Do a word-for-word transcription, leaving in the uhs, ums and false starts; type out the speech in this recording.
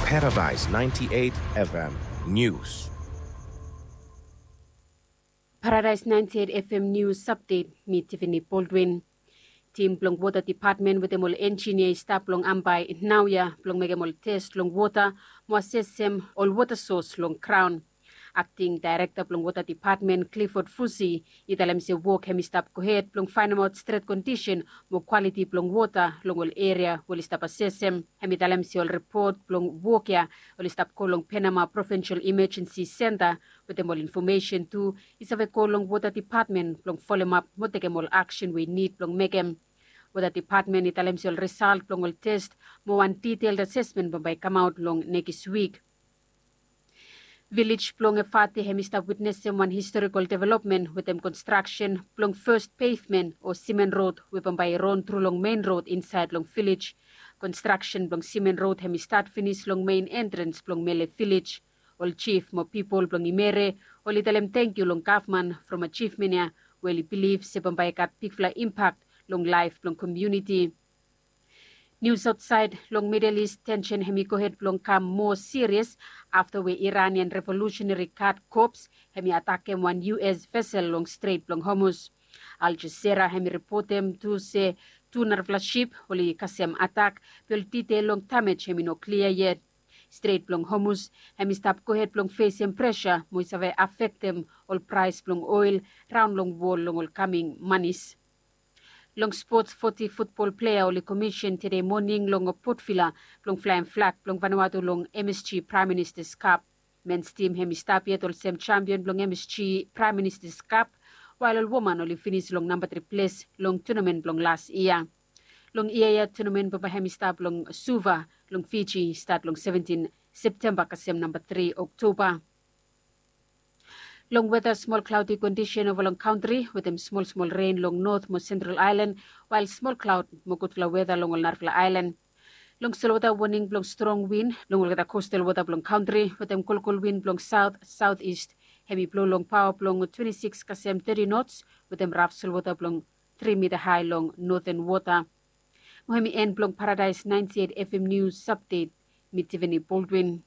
Paradise ninety-eight F M News. Paradise ninety-eight F M News Update, mi Tiffany Baldwin. Tim blong wota depatmen wetem ol enjinia i stap long Ambae naoia blong mekem ol tes long wota mo asesem ol wota sos long graon. Akting daerekta blong wota depatmen Clifford Fusi i talem se wok hem i stap gohed blong faenemaot stret kondisen mo kwaliti blong wota long ol eria we oli stap asesem. Hem i talem se ol ripot blong wok ya oli stap go long Penama Provinsel Imajensi Senta wetem ol infomesen tu i save go long wota depatmen blong folemap mo tekem ol aksen we i nid blong mekem. Wota depatmen i talem se ol risalt blong ol tes mo wan diteld asesmen bambae i kamaot long nekis wik. Vilej blong Efate hem i stap witnesem wan historikol developmen wetem konstraksen blong fes pevmen o simen rod we bambae i ron tru long men rod insaed long vilej. Konstraksen blong simen rod hem i stat finis long men entrens blong Mele vilej. Ol jif mo pipol blong Imere oli talem tangkiu long gavman from ajivmen ya we oli bilif se bambae i gat bigfala impak long laef blong komuniti. Nius aotsaed, long Midel Is tensen hem i gohed blong kam moa sirias afta we Iranian Revolusenari Gad Kops hem i atakem wan U S vesel long Stret blong Hormuz. Al Jazeera hem i ripotem tu se tu narafala sip oli kasem atak, be ol detael long damej hem i no klia yet. Stret blong Hormuz hem i stap gohed blong fesem presa mo i save afektem ol praes blong oel raon long wol long ol kaming manis. Long spots, foti futbol plea oli komisen tede moning long Port Vila blong flaem flag blong Vanuatu long M S G Praem Ministas Kap. Mens tim hem i stap yet olsem jampion blong M S G Praem Ministas Kap, wael ol woman oli finis long namba tri ples long tunamen blong las yia. Long yia ya tunamen bambae hem i stap long Suva long Fiji, stat long seventin Septemba kasem namba tri Oktoba. Long weta, smol klaodi kondisen ova long kantri wetem smol smol ren long not mo sentral aelan, wael smol klaod mo gudfala weta long ol narafala aelan. Long solwota, woning blong strong win long olgeta kostal wota blong kantri wetem kolkol win blong saot saot ist hem i blo long paoa blong twenti sikis kasem teti nots wetem raf solwota blong tri mita hae long noten wota. Mo hem i en blong Paradaes naenti eit F M Nius Apdet. Mi Tivani Boldwin.